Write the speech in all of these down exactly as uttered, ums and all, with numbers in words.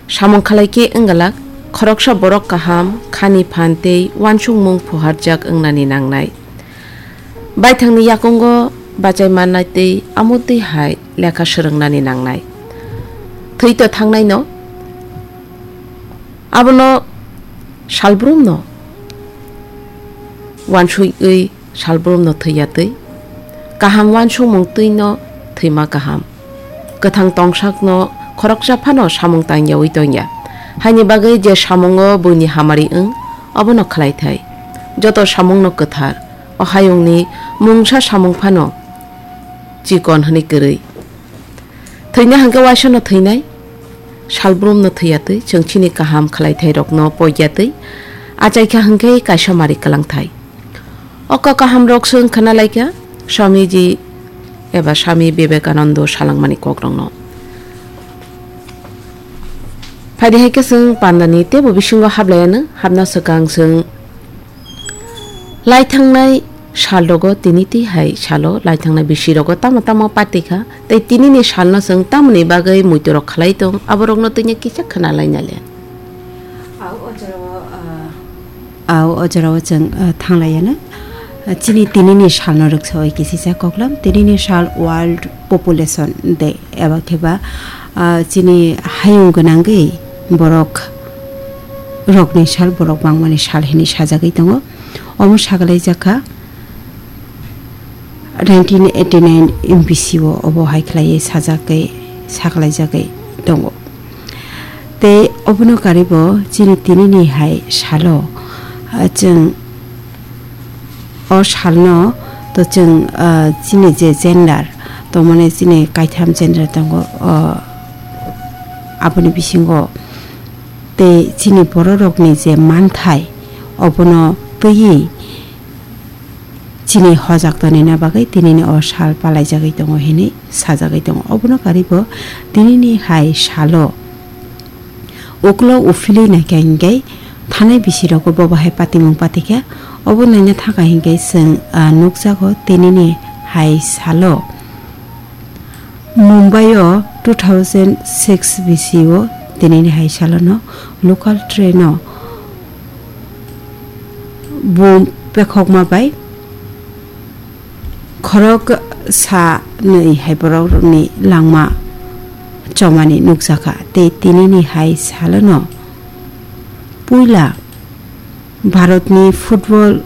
Samung khlai khe wng glak, khoroksa borok kaham, khani phan tei uansukmung phuarjak wngnani nangnai. Baithangni yakungo bachai mannai tei amutwi hai lekha swrwngnani nangnai. Thwi to thangnaino, abono salbrumno uansugwi salbrumno thwi ya twi, kaham uansukmung twino thwima kaham. Kwthang tongsakno khoroksa phano samung tangyawi tongya. Haini bagwi je samungo buini hamari wng, obono khlai thai. Joto samungno kwthar, o hayungni mungsa samung phano chikon hwnwi kwrwi. Thwina hwnkhe uaisano thwinai, salbrumno thwi ya twi, chwng chini kaham khlai thai rokno poi ya twi, achai kha hwnkhe kaisa mari kwlang thai. O kok kaham rok chwng khna lai kha Swamiji eba Swami Vivekanando salangmani kok rokno. Phaidi hai khe chwng pandani teibo bisingo hap lai anw, hapna swkang chwng lai thangnai sal rogo tini twi hai salo lai thangnai bisi rogo tamo tamo pati kha, tei tini ni sal no chwng tamoni bagwi muitu rok khlai tong, abo rok no twi kisa khna lai nai le. Au o jora o, ah, Au o jora o chwng, ah, thang lai anw. Ah, chini tini ni sal no rwksa oi kisi sa koklam, tini ni sal World Population Day eba khe ba, ah, chini hayung gwnangwi borok rokni sal, borok bangmani sal hinwi sajagwi tongo. Omo sagalai jakha nineteen eighty nine bisi o obo hai khlaiwi sajagwi, sagalai jagwi tongo. Tei obono karibo chini tini ni hai salo, ah, chwng o salno to chwng, ah, chini je gender tongmani chini kaitham gender tongo, ah, aboni bisingo tei chini bororokni je manthai obono twiwi chini hojak tonina bagwi tinini o sal palaijagwi tongo hinwi sajagwi tongo. Obono karibo tinini hai salo ukulok uphilwi naikha hinkhe thanai bisirogo bobo hai patimung patikha. Obo naina thangkha hinkhe chwng, ah, nukjago tinini hai salo. Mumbai o two thousand six bisi o tinini hai salono local train o bum pekhokma bai khorok sa nwi hai borok rokni langma chomani nukjakha tei tinini hai salono puila Bharatni football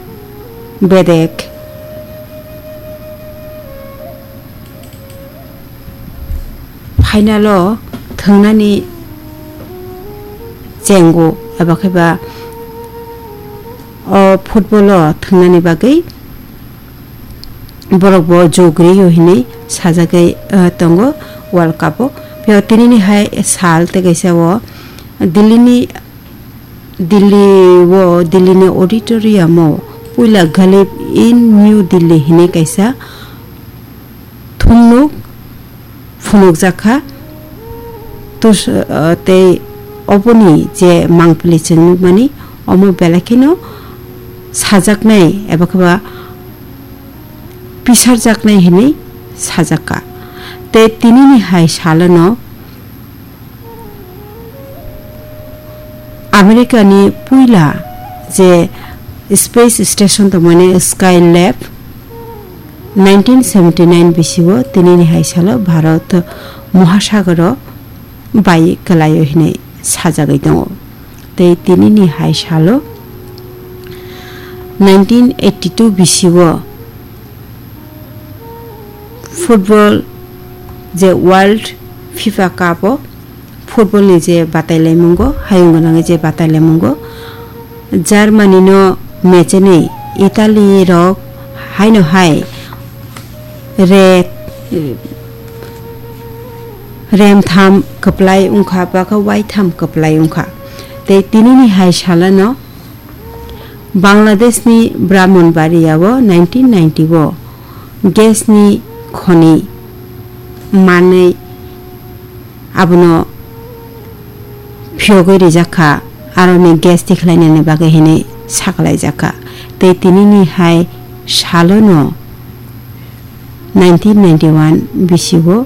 bedek final o thwngnani chengo eba khe ba o football o thwngnani bagwi borok bo jogriyo hinwi sajagwi, eh, tongo World Cup o. Phiya tinini hai sal tei kaisa o Delhi ni Delhi o, Delhi ni auditorium o puila Ghalib in New Delhi hinwi kaisa thumnuk phunukjakha. Tus-, ah, tei oboni je mangpili chwng nukmani, omo belai kheno sajaknai eba khe ba pisarjaknai hinwi sajakha. Tei tinini hai salono America ni puila je space station tongmani Skylab, nineteen seventy nine bisi o tinini hai salo Bharat mohasagaro bai kwlaio hinwi sajagwi tongo. Tei tinini hai salo nineteen eighty two bisi o football je World FIFA Cup o football ni je batailaimungo, hayung gwnangwi je batailaimungo, Germany no mechenwi Italy rok haino hai re, remtham kwplai wngkha, bwkha waitham kwplai wngkha. Tei tinini hai salano Bangladesh ni Brahmanbaria o nineteen ninety o gas ni khoni manwi abono phiyogwi rijak kha, aroni gas tikhlainani bagwi hinwi sakalaijak kha. Tei tinini hai salono nineteen ninety one bisi o